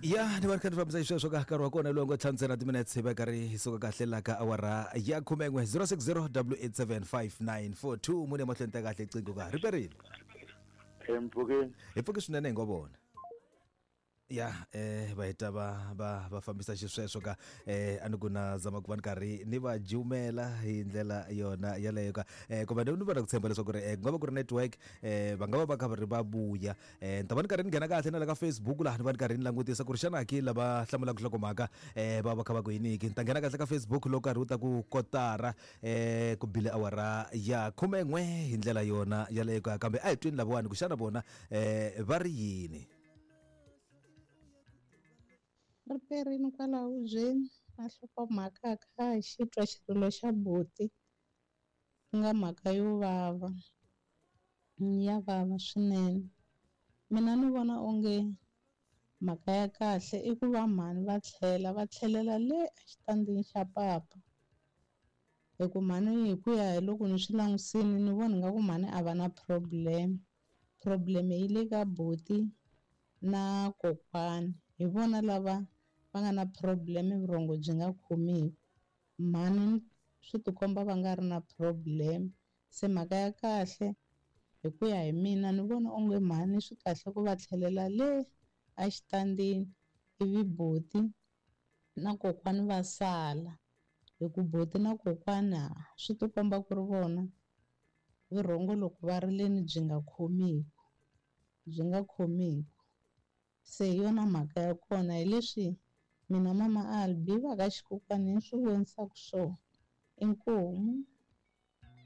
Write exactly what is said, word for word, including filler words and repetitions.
Ya ni va ri kha ni fambisa xisweswo ka nkarhi wa kona lowu ngo ntlhanu ntsena timinetse hi va karhi hi suka kahle la ka awara ya khumen'we zero six zero double eight seven five nine four two mune mahlweni ta kahle qingho ka ri perile. Empfukeni. Hi pfuke swinene hi ngo vona. Ya eh va heta va va va fambisa xisweswo ka eh a ni ku na zama ku va ni karhi ni va jumela hi ndlela yona yaleyo ka eh kumbe ni vona ku tshemba leswaku ri eh ku nga va ku ri network eh va nga va va kha va ri va vuya eh ni ta va ni karhi ni nghena kahle na le ka Facebook laha ni va ni karhi ni langutisa ku ri xana ki lava hlamulaka nhlokomhaka eh va va kha va ku yini ki ni ta nghena kahle ka Facebook loko karhi wu ta ku kotara eh ku bile awara ya khumen'we hi ndlela yona yaleyo ka kambe a hi tweni lavawani ku xana vona eh va ri yini. Ri perini kwala hubyeni na nhlokomhaka kha hi xi twa xirilo xa buti ku nga mhaka yo vava, ya vava swinene. Mina ni vona onge mhaka ya kahle i ku va mhani va tlhela va tlhelela le exitandini xa papa, hi ku mhani hi ku ya hi loko ni swi langusini ni vona nga ku mhani a va na problem. Problem yi le ka buti na kokwani, hi vona lava va nga na problem vurhongo byi nga khomiwi. Mhani swi tikomba va nga ri na problem. Se mhaka ya kahle hi ku ya hi mina ni vona onge mhani swi kahle ku va tlhelela le exitandini ivi buti na kokwani va sala, hi ku buti na kokwana swi tikomba ku ri vona vurhongo loko va ri leni byi nga khomiwi, byi nga khomiwi. Se hi yona mhaka ya kona hi leswi mina mama Albi va ka xikokwani ni swi vonisaka swona. Inkomu.